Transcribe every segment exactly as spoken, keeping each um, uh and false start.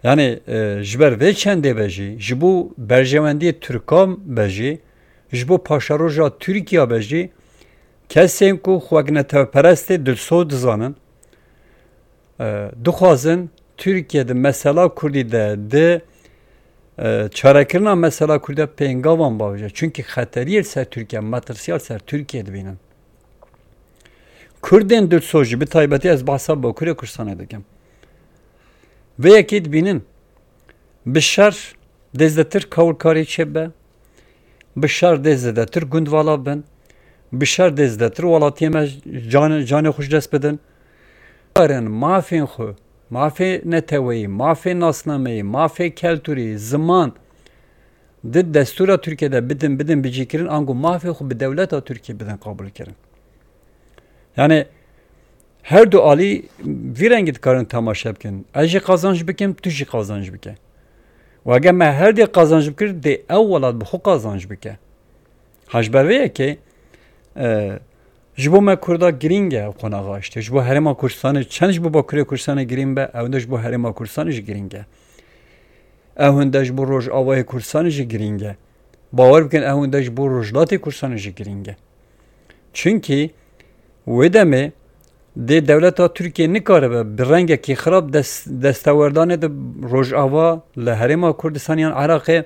Yani e, ji ber vê çendê be jî, ji bo berjewendiyê Tirkan be jî, ji bo paşeroja Tirkiya be jî, kesên ku xwe wek neteweperestê dilsoz dizanin, e, dixwazin Tirkiye di mesela Kurdî de, di e, çarekirina mesela Kurdî de pêngavan bavêje. Çunkî xeteriyê li ser Tirkiye, metirsiyal ser Tirkiye dibînin. Kurdên dilsoz jî, bi taybetî ez behsa Bakurê Kurdistanê dikim. Vê yekê dibînin, bi şer dê zêdetir kawilkarî çêbe, bi şer dê zêdetir gund vala bin, bi şer dê zêdetir welatiyê me can, canê xwe ji dest bidin. Karin mafên xwe, mafê neteweyî, mafê nasnameyî, mafê keltûrî, ziman, di destûra Tirkiye de bidin, bidin bicîkirin, ango mafê xwe bi dewleta Tirkiye bidin qabûlkirin. Yani her du alî vî rengî dikarin temaşe bikin. Ez jî qazanç bikim, tu jî qazanç bike. Û eger me her dê qazanç bikir, dê ew welat bi xwe qazanç bike. Ha ji ber vê yekê, e, ji bo me Kurda girîng e ew qonaxa işte. Ji bo Herêma Kurdistanê, çend ji bo Bakurê Kurdistanê girîng be, ew de ji bo Herêma Kurdistanê jî girîng e. Ew hinde ji bo Rojavayê Kurdistanê jî girîng e. Bawer bikin, ew hinde ji bo Rojhilatê Kurdistanê jî girîng e. Çunkî wê demê dê dewleta Tirkiye nikaribe bi rengekî xirab dest, destewerdanê di Rojava, li Herêma Kurdistan yan Iraqê,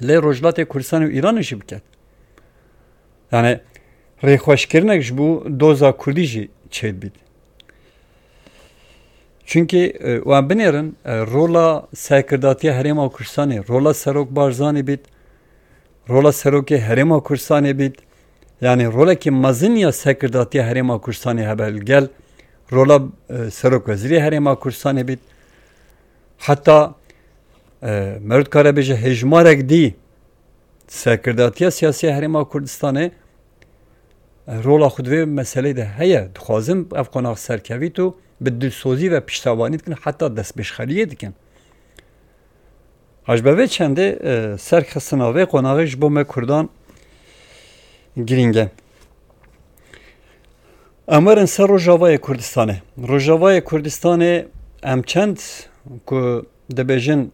lê Rojhilatê Kurdistan û Îranê jî biket. Yani rêxweşkirinek ji bo doza Kurdî jî çêdibît. Çunkî e, wan binêrin, e, rola serkirdatiya Herêma Kurdistanê, rola Serok Barzanî bît, rola Serokê Herêma Kurdistanê bît, yani rolekî mezin ya serkirdatiya Herêma Kurdistanê hebe li gel rola e, Serok Wezîrê Herêma Kurdistanê bît. Heta e, me dikare bêje hêjmarek dî serkirdatiya siyasî ya Herêma Kurdistanê e, rola xwe di vê meseleyê de heye. Dixwazin ev qonax serkevît û bi dilsozî ve piştevanî dikin, heta destpêşxeriyê dikin. Ha ji ber vê çendê e, serxistina vê qonaxê ji bo me Kurdan girîng e. Em werin ser Rojavayê Kurdistanê. Rojavayê Kurdistanê em çend ku dibêjin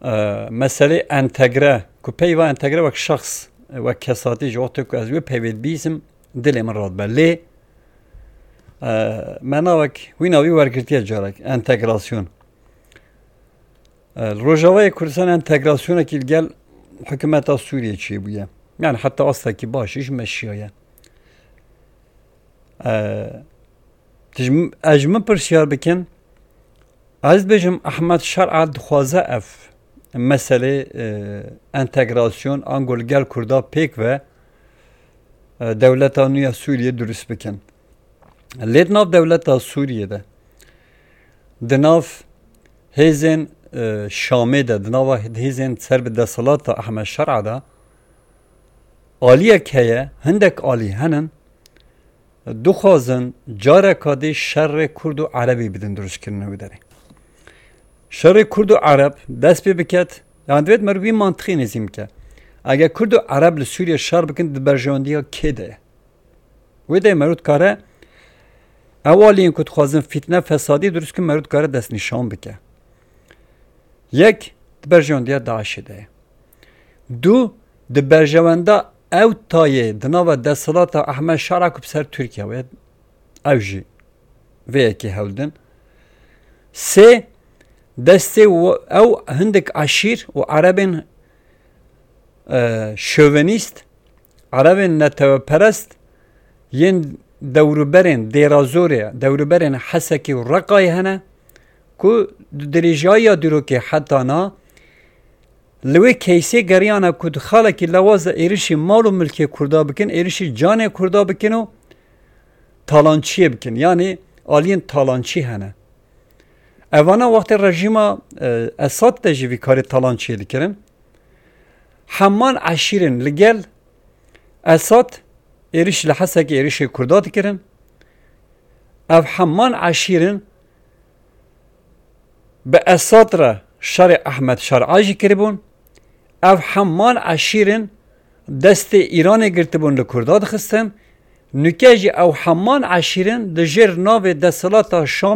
e, meselê entegre, ku peyva entegre wek şexs, wek kesatî ji wextê ku ez wê peyvê dibîsim, dilê min radibe. Lê e, me navek wîna wî wergirtiye carek, entegrasyon. E, li Rojavayê Kurdistan entegrasyonekî li gel hikûmeta Sûriyê çêbûye. Yani heta astekî baş jî meşiyaye. E, tu ji min, ez ji min pirsyar bikin, ez dibêjim Ehmed Şer'a dixwaze ev meselê e, entegrasyon ango li gel Kurda pêk ve e, dewleta nû ya Sûriyê durust bikin. Lê di nav dewleta Sûriyê de, di nav hêzên e, Şamê de, di nava hêzên ser bi desthilata Ehmed Şer'a de, aliyek heye, hindek alî henin, dixwazin careka dî şerê Kurd û Erebî bidin dirustkirinê wê derê. Şerê Kurd û Ereb dest pê biket, yani divêt meriv wî mantiqî nêzî bike. Eger Kurd û Ereb li Sûriyê şer bikin, di berjewendiya kê de ye? Wê de meriv dikare ew aliyên ku dixwazin fîtne fesadî dirust kin, meriv dikare destnîşan bike. Yek, di berjewendiya DAIŞê de ye. Du, di berjewenda ew tayê di nava desthilata Ehmed Şara ku bi ser Tirkiye wê, ew jî vê yekê hewl din. Sê, destê ew hindek eşîr û erebên e, şovenîst, erebên neteweperest yên dewrûberên Dêrazorê, dewrûberên Hesekê û Reqayê hene ku di dirêjayiya dîrokê heta na li wê keysê geriyane ku di xalekî lewaza êrişî mal û milkê Kurda bikin, êrişî canê Kurda bikin û talançiyê bikin. Yanî aliyên talançî hene. Evana wextê rejîma e, Esad de jî vî karê talançiyê dikirin. Heman eşîrin li gel Esad êriş li Hesekê êrişê Kurda dikirin. Ev heman eşîrin bi Esad re şerê Ehmed Şer'a jî kiribûn. Ev heman eşîrin destê Îranê girtibûn li Kurda dixistin. Nûke jî ew heman eşîrin di jêr navê desthilata Şam